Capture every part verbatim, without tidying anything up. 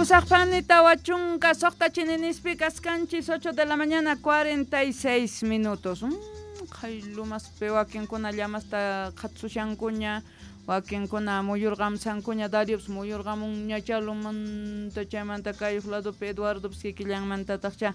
Pusaqpani tawa chunka suqta chininispi kaskanchis ocho de la mañana cuarenta y seis minutos. Mm, qaylumaspi wakinkuna llamasta qhatsushankuña, wakinkuna muyurqamsankuña, Dariops muyurqamunña chalumanta chaymanta kayuq ladopi Eduardops kikillanmantataqcha.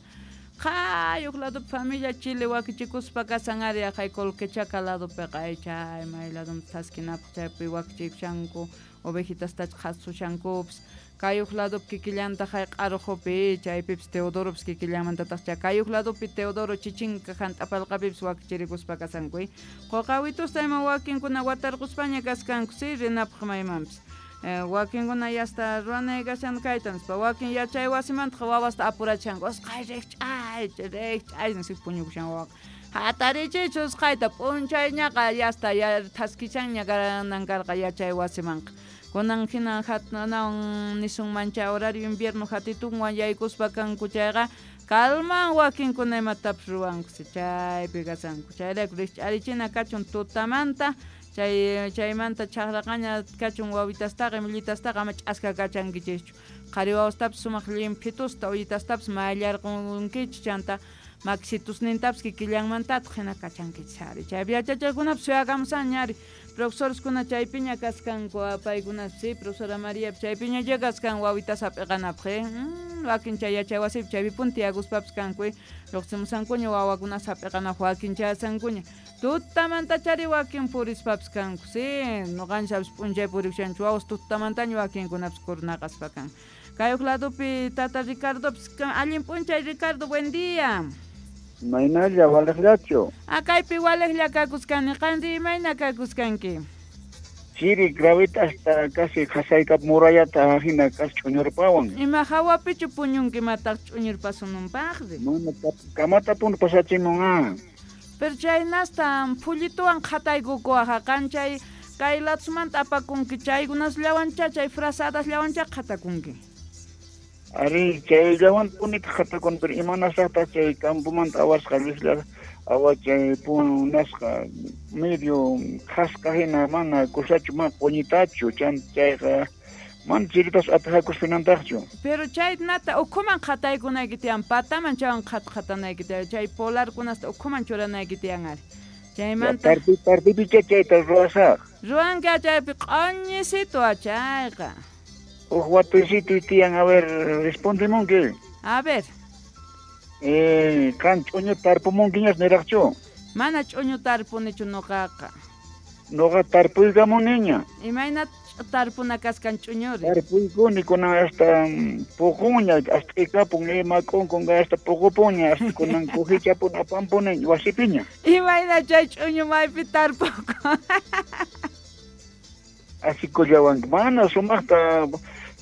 Qayuq ladopi familia Chile wakichikuspa kasan ari aqay Colquechaca ladopiqa ay chay may ladumpi thaskinapaq chaypi wakichikushanku ovejitastach qhatsushankupas. Kayuq ladopi kikillantaq ay q'aruqupi chaypipis Teodoropis kikillanmantataqcha kayuq ladopi Teodoro chichinka hant'apalqapipis wakichirikuspa kasanku. Quqawitusta ima wakinkuna watarquspaña kaskanku si rinapaq maymanpis. Eh, wakinkuna yasta ruwanay kashan kayta nispa wakin yachay wasimantaq wawasta apurachanku usqhay riqch'ay riqch'ay nispa puñukushan wawaqa hatarichiychu usqhayta p'unchayñaqa yasta thaskichanña kanan karqa yachay wasimanqa. Kunan hina hatnawan nisunmancha horario invierno hatitunwan yaykuspa kanku chayqa kalman wakinkuna imatapas ruwanku chaypi kasanku chayrayku riqch'arichina kachun tutamanta chay chaymanta chaqraqaña kachun wawitastaqa imillitastaqa ama ch'aska kachankichischu qhari wawastapis sumaq llimphitusta ullitastapis mayllarqunkichis chanta maksitusnintapis kikillanmantataq hina kachankichis ari chaypi yachachiqkunapis suyakamusanña ari profesoreskuna chaypiña kaskanku paykunapas si profesora Maria chaypiña kaskan wawitas hap'iqanapaq mm, wakin chay yachay wasipi chaypipuni tiyakuspapis kanku lluqsimusankuña wawakunas hap'iqanapaq wakin chayasankuña tutamantachari wakin purispapis kanku si ñuqanchapis p'unchay purikushanchik wawas tutamantaña wakinkunapis kurnaqaspa kan. Kayuq ladopi tata Ricardopis allin p'unchay Ricardo, buen día. Maynalla waliqllachu. Ah, kaypi waliqlla kakuskani, qanri imayna kakuskanki? Chiri gravita hasta casi qhasaykap murallata hina kas ch'uñurpawan. Ima hawapichu puñunki mataq ch'uñurpasununpaqri? Mana kamatapuni pasachimun ah. Pero chaynasta phullituwan qhataykukuwaqa qan chay kay ladsumanta apakunki chaykunasllawancha chay frazadasllawancha qhatakunki. Ari chayllawan punita qhatakun pero imanasaqtaq chay campomanta awasqa llislla awa chay punasqa medio qhasqa hina mana kusachu mana quñitachu chan chayqa mana chiritas atajakuspinantaqchu. Pero chay nata ukhuman qhataykunayki tiyan pataman chaywan qhat qhatanayki tiyan chay polarkunasta ukhuman churanayki tiyan ari. Chaymanta tarpi tarpipicha chayta ruwasaq. Ruwanki chaypi q'uñisitu chayqa. Uj watuysitu tiyan, a ver, respondemunki. A ver. Eh, qan ch'uñu tarpumunkiñas niraqchu? Mana ch'uñu tarpunichu nuqaqa. Nuqa tarpuykamuniña. Imayna tarpuna kaskan ch'uñuri? Tarpuykuni kunan hasta puqunña, hasta ikapun, ima k'unkunqa hasta puqupuña, hasta kunan kujichapun apampuni wasipiña. Imayna chay ch'uñu maypi tarpuku? Asikullawanki, mana sumaqta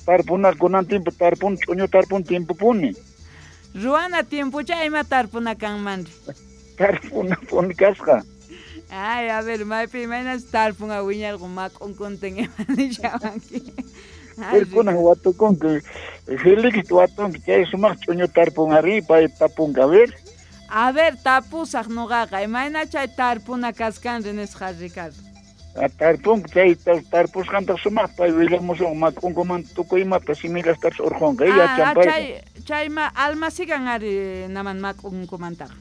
tarpuna kunan tiempo tarpun ch'uñu tarpun tiempopuni. Ruwana tiempocha ima tarpuna kanmanri? Tarpuna puni kasqa. Ay, a ver, maypi imaynas tarpunqa wiñarqun mak'unkuntin ima nishawanki. Pero kunan watukunki, Felix watunki chay sumaq ch'uñu tarpun ari, pay tapunka, a ver. A ver, tapusaq nuqaqa, imayna chay tarpuna kaskanri nisqa Ricardo. Tarpunki chay tarpusqantaq sumaq pay willamusun mak'unkumanta tukuy imata simillastapis urqunqa yachan payqa. Chay chayma almasigan ari naman mak'unkumantaqa.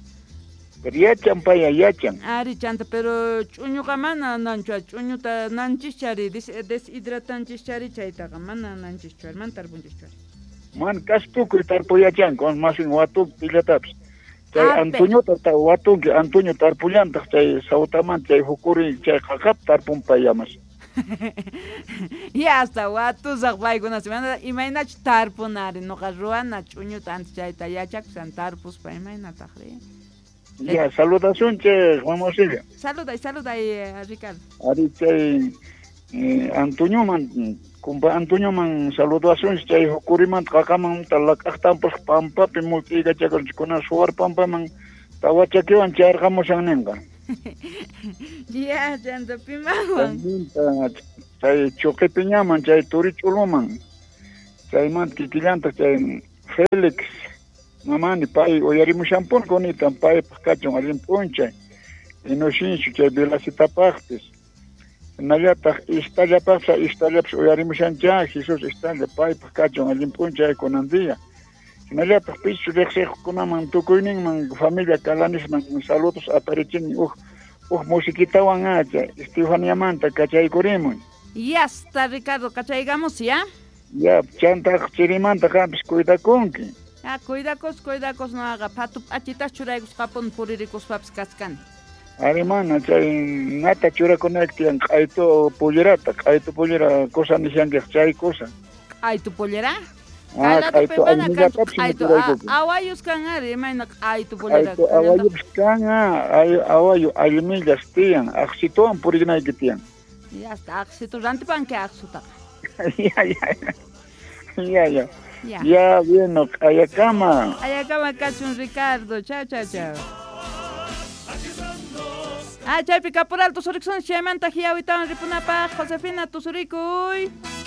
Pero yachan paya yachan. Ari chanta pero ch'uñuqa mana nanchu ch'uñuta nanchischari deshidratanchischari chaytaqa mana nanchischu ari mana tarpunchischu ari. Man kas tukuy tarpuy yachanku masin watuq pillatapis. Chay Antoñota watunki Antoño tarpullantaq chay Sautamanta chay hukuri chay qaqap tarpun payamas. Ya hasta watusaq paykunas imaynachu tarpunari nuqa ruwana ch'uñuta antes chayta yachakusan tarpuspa imaynataqri. Ya saludasunchik Mama Silvia. Saluday saluday Ricardo. Ari chay eh, Antoñoman kumpa Antoñoman saludasunchik chay hukurimanta qaqamanta laq'aqtampus pampapi mult'iykachakunchik suwar pampaman tawa chakiwan chayarqamushan ninqa. Ya chanta pimanwan. Chay Chuqipiñaman chay Turich'uluman chaymanta kikillantaq chay Felix mamani pay uyarimushanpuni kunitan paypaq kachun allin p'unchay Inocencio chay Velasitapaqpis Hinallataq istallapaqsa istallapas uyarimushancha Jesus istalla paypaq kachun allin p'unchay kunan día. Hinallataq pichu riqsiqkunaman tukuyninman familia Kalanisman saludos aparichini uj uj musiquitawan acha Estefaniamanta kachaykurimuy. Yasta Ricardo kachaygamos ya. Ya chantaq chirimanta qampis cuidakunki. Ya cuidakos cuidakos noqaqa phatu p'achitas churaykusqapun puririkuspapis kachkani. Ari mana chay nata churakunayki tiyan q'aytu pollerata, q'aytu pollera cosa nishankiq chay cosa. Q'aytu pollera? Ah, q'aytu q'aytu awayus kan ari imayna q'aytu pollera. Q'aytu awayus kan awayu allmillas tiyan, aqsituwan purinayki tiyan. Ya está aqsitu rantipanki aqsutaqa. Ya ya. Ya ya. Ya, ya bueno, ayakama. Ayakama kachun Ricardo. Chao chao chao. Ah, chaypi caporal tusuriksun chaymanta hiawitawan ripunapaq Josefina tusurikuy.